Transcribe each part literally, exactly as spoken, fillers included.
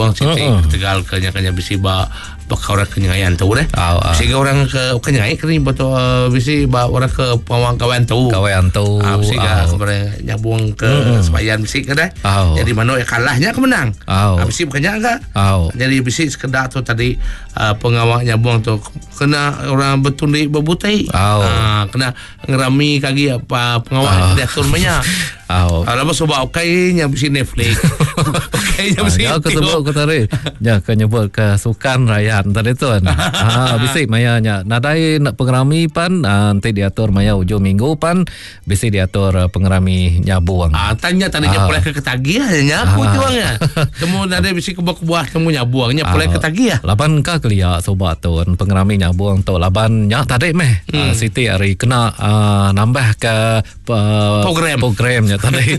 nyabung siti Mm-mm. ketegal ke nya kanya bisi ba baka orang ke nyengai antu deh. Au, au. Bisi ga orang ke bukan nyengai ke ni betul uh, bisi ba orang ke pengawang kawan tu. Gawai antu. Ah, bisi ga Au. kemarin nyabung ke sebayan bisi ke deh. Au. Jadi manuk yang kalahnya ke menang. Au. Ah, bisi bukannya enggak? Au. Jadi bisi sekedar tu tadi uh, pengawak nyabung tu kena orang bertundi berbutai. Au. Ah, kena ngerami kagi apa pengawak diatur banyak. Au. Ah, lama sebab okay nya bisi Netflix. Okay nya Ah, bisi ya aku YouTube. sebut aku tadi. Ya ke nyebut ke sukan rakyat tadi tu. Ah bisi maya nya. Nadai nak pengerami pan ah, nanti diatur maya ujung minggu pan bisi diatur ah, pengerami nyabung. Ah, tanya tadi nya Ah. pulai ke ketagih nya aku Ah. juangnya. Temu nadai bisi kebuah-kebuah temu nyabuang nya pulai Ah, ketagih. Laban ka kelia sobat tu pengerami nyabung tu laban nya tadi meh hmm. uh, siti hari kena uh, nambah ke uh, Program. programnya tadi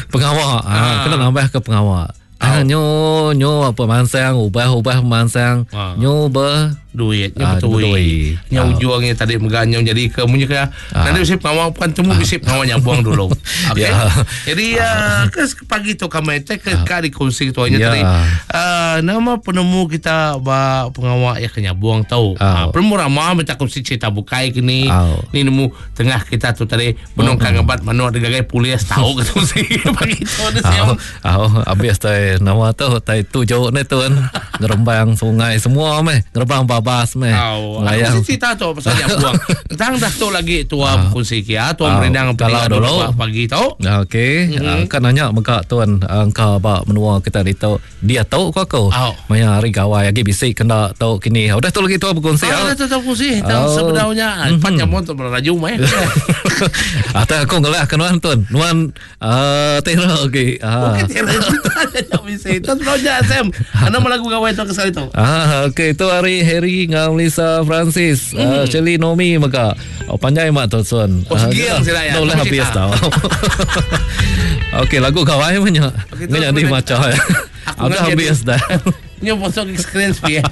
pengawa ah. kena nambah ke pengawa. Ah, nyo nyo apa mansang ubah-ubah mansang Ah. nyo ber Duit nya Ah, betul. betul. Nya Ah. ujungnya tadi meganyong jadi ke munyi ke nanti bisi pengawal bukan temu bisi pengawal nyabuang dulu. Okey. Ya. Jadi uh, ke pagi tu kami teh ke ka dikongsi tu nya Ya. tadi. Uh, nama penemu kita ba pengawal ya ke nyabuang tau. Ah. Uh, penemu ramah minta kongsi cerita bukai kini. Ah. Ni nemu tengah kita tu tadi benongkan ngebat manuk degagai polis tahu ke tu si pagi tu ni Au, siam. au, habis tai nama tu tai tujuh ni tu kan. Ngerembang sungai semua meh, ngerembang babas meh. Au, Melayang. aku mesti cerita tu pasal nyabuang. Tang dah tu lagi tua berkongsi kia, tua Ah. merindang Kalau pendengar dulu. pagi tu. Okey, mm-hmm. kan nanya mega tuan engkau ba menua kita ditu dia tau ko aku. Au. Maya hari gawai lagi bisi kena tau kini. Udah tu lagi tua berkongsi. Ah, au. dah tu tahu kongsi. Tahu Oh. sebenarnya mm-hmm. Pan nyambung tu berlaju mai. Atau aku ngelah ke nuan tuan. Nuan uh, tera okey. Ah. Bukan tiada cerita tak bisa. Itu sebenarnya Sam. Anda melagu gawai tu kesal itu. Ah, okey itu hari Harry ngau Lisa Francis, mm. uh, Shirley Nomi mega. Oh, panjai mak tu tuan. Oh, segiang sila ya. Dah Aku habis cerita. tau. Okey, lagu gawai banyak. Okey, tu Nggak jadi aku macam. Aku Udah ngerti. habis dah. Ni bosok screen speed.